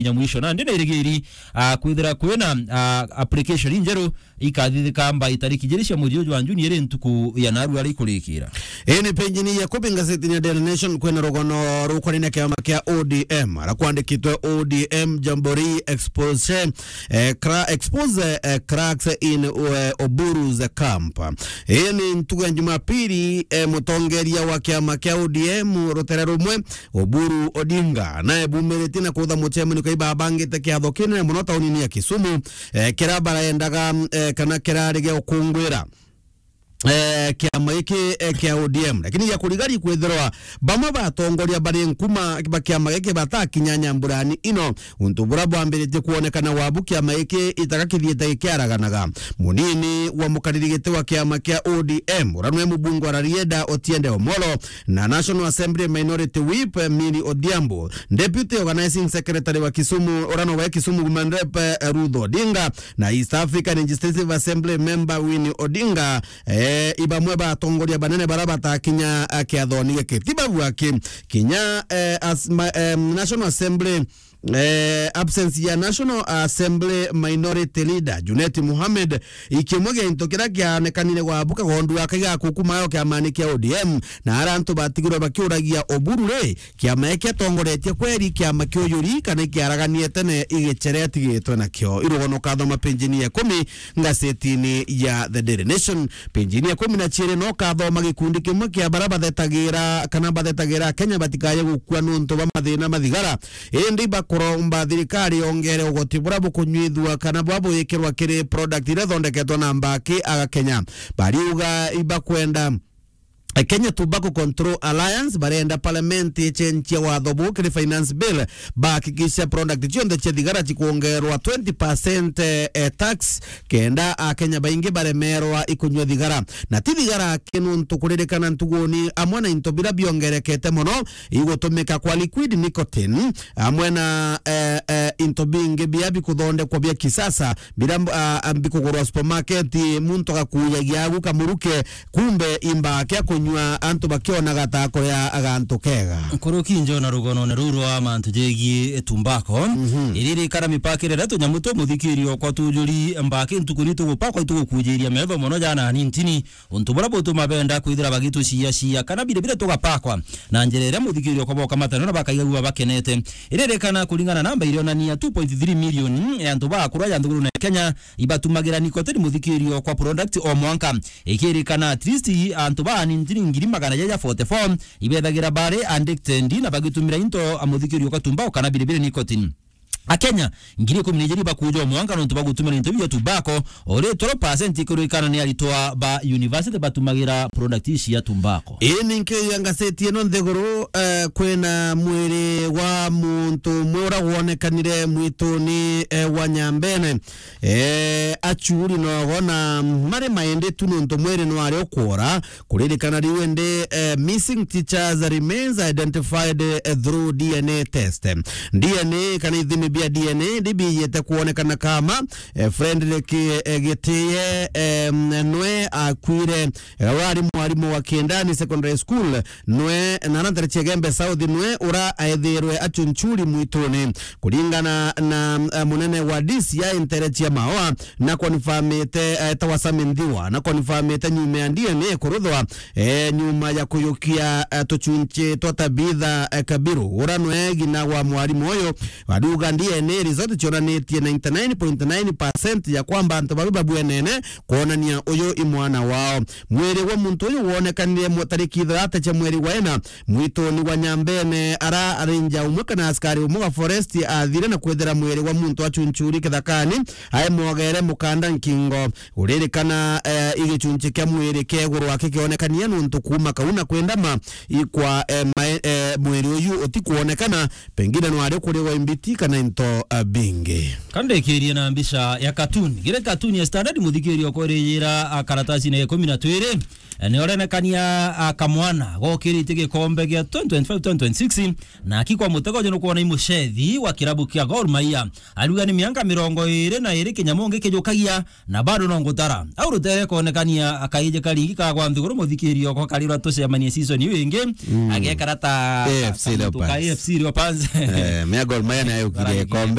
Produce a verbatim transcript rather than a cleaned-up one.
kinya mwisho. Na ndi na irigiri, ah, kwithira kwina, ah, application injeru ikathithika mba itariki ijiri cia mweri uju wa Juni, iri ntuku ya narua ari kurikira. Ii ni penjini ya kubi ngazetini ya Daily Nation, kwina rugono rukonainie na kiama kia O D M, ara kwandikitwe O D M Jamboree Expose, eh, cra-, expose, eh, cracks in, eh, Oburu's camp. Ii ni ntuku ya Jumapili, eh, mutongeria wa kiama kia O D M rutere rumwe, Oburu Odinga, nae bumiritie na kutha mucemanio kai babangite kiatho kinene mono taunini ya Kisumu, eh, kira barendaga, eh, kana kirari gia gukungwira, eh, kiama giki, eh, kia O D M. Lakini gia kurigari kwithirwa bamwe ba atongoria bari nkuma ba kiama giki batakinya nyamburani ino, untu bura bwambiritie kwonekana wabu kiama giki itaka kithiite gikiaraganaga. Munini wa mukariri giti wa kiama kia O D M, ura nwe mubunge wa Rarieda Otiende Omolo, na National Assembly Minority Whip, eh, Milly Odhiambo, Deputy Organizing Secretary wa Kisumu, ura nowe Kisumu Women Rep, eh, Ruth Odinga, na East African Legislative Assembly Member Winnie Odinga, eh, ibamwe ba atongoria banene bara batakinya, eh, kiathoni giki. Ti babu aki, kinya, eh, as-, ma-, em, National Assembly, eh, absence ya National Assembly Minority Leader Junet Mohamed, ikimwe gia into kiria kianekanire gwa buka gondu akai ga kukumayo kiamani kia O D M, na ara antu batigirwe bakiuragia Oburu ri, kiama giki atongoretie kweri kiama kia uyuri kana ikiaraganie tene igichere atigitwe nakio? Irugono kathoma penjini ya ikumi ngazetini ya The Daily Nation. Penjini ya ikumi na ciiri no kathoma gikundi kimwe kia bara bathetagira kana bathetagira Kenya batikaye gukua nuntu bwa mathina ma thigara. Indi bakuromba thirikari yongere ugoti bura bukunyuithua kana bwa buikirwa kiri product iria ithondeketwe na mbaki aga Kenya. Bariuga ibakwenda, eh, Kenya Tobacco Control Alliance barenda parliament icenjie watho buu kiri finance bill, bahakikisha product cionthe cia thigara cikwongerwa twenty percent, eh, eh, tax, kenda Akenya baingi baremerwa ikunyua thigara. Na ti thigara aki nuntu kuririkana ntuguni amwe na into bira biongerekete mono, igutumika kwa liquid nicotine, amwe na, eh, eh, into bingi bia bikuthondekwa bia kisasa, bira, ah, bikugurwa supermarket, muntu agakuyagia agu kamuruke, kumbe imba kia kunyua antu bakionaga ta kuria gantu kega. Nkuruki njo na rugonone ruu rwa mantu jegie tumbako, mhm, iririkana mipakire iria tunyamu twa muthikirio kwa tujuri mbaki ntuku ni tugupakwa itugukujiria metho mono jana anintini. Untu buria butuma benda kwithira bagituciacia kana bire bire tugapakwa na njira iria muthikirio kwa boka matano na bakaigagua bakenete. Iririkana kuringana na namba irionania two point three million ya antu ba akura ya nthiguru na Kenya ibatumagira nikotini muthikirio kwa product o mwanka. Ikirikana at least antu ba anintini ngiri magana jaja forty-four ibethagira bari addicted na bagitumira into a muthikirio kwa tumbao kana bire bire nikotini. Akenya ngiri ikumi na ijiri bakuja o mwanka nontu bagutumira into bia tumbako, o ri twelve percent ikurikana ni aritwa ba university batumagira product ici ya tumbako. Ii ni nkiuga ngaseti ino nthiguru, eh, kwina mwiri wa muntu umwe ura wonekanire mwituni, eh, wa Nyambene, eh, achuri nogo na mari maindi tu nontu mwiri nwari ukwora. Kuririkana riu indi, eh, missing teachers remains identified, eh, through D N A test. D N A kana ithimi bia D N A ndi biijite kwonekana kama, eh, Frederick, eh, Gitiye, eh, nwe akuire, eh, wari mwarimu wa Kiendani Secondary School, nwe, na ara ntere cia Igembe South, nwe ura aethirwe achunchuri mwituni. Kuringana na, eh, munene wa D C I ntere cia Maoa, na confirmite, eh, ta wa Sami Nthiwa, na confirmite nyuma ya D N A kuruthwa, eh, nyuma ya kuyukia, eh, tuchunchi twa Tabitha, eh, Kabiru, ura nwe ngina wa mwarimu uyu. Ariuga D N A result cionanitie ninety nine point nine percent ya kwamba antu babi babwenene kwonania uyu i mwana wao. Mwiri wa muntu uyu wonekanire mu-, tariki ithathatu cia mweri wa ina, mwituni wa Nyambene, ara ranger umwe kana askari umwe wa forest athire na kwethira mwiri wa muntu achunchuri kithakani, aemwogere mukanda nkingo. Uririkana, eh, igichunchi kia mwiri kia iguru aki kionekania nuntu kuuma kau na kwendama ikwa, eh, mae-, eh, mwiri uyu utikwonekana, pengine nwari kuriwa imbiti kana into, eh, bingi. Kandikirie na mbica ya cartoon. Gire cartoon ya Standard muthikiria ukoririra, ah, karatasi na ikumi na twiri. Orenekania, a, kamwana gokiritie gikombe gia twenty twenty-five twenty twenty-six, na aki kwa mutego je nukwona i mucethi wa kirabu kia Gor Mahia. Ariuga ni mianka mirongo iri na iri kinyamu ngikijukagia, na bado no ngutara. Au rutere konekania akaije karingi kagwa nthiguru, muthikirio ko karirwa tucemanie season iu ingi, agekara ta A F C ka Leopards. A F C Leopards. Eh, mea Gor Mahia nayo ukire gikombe.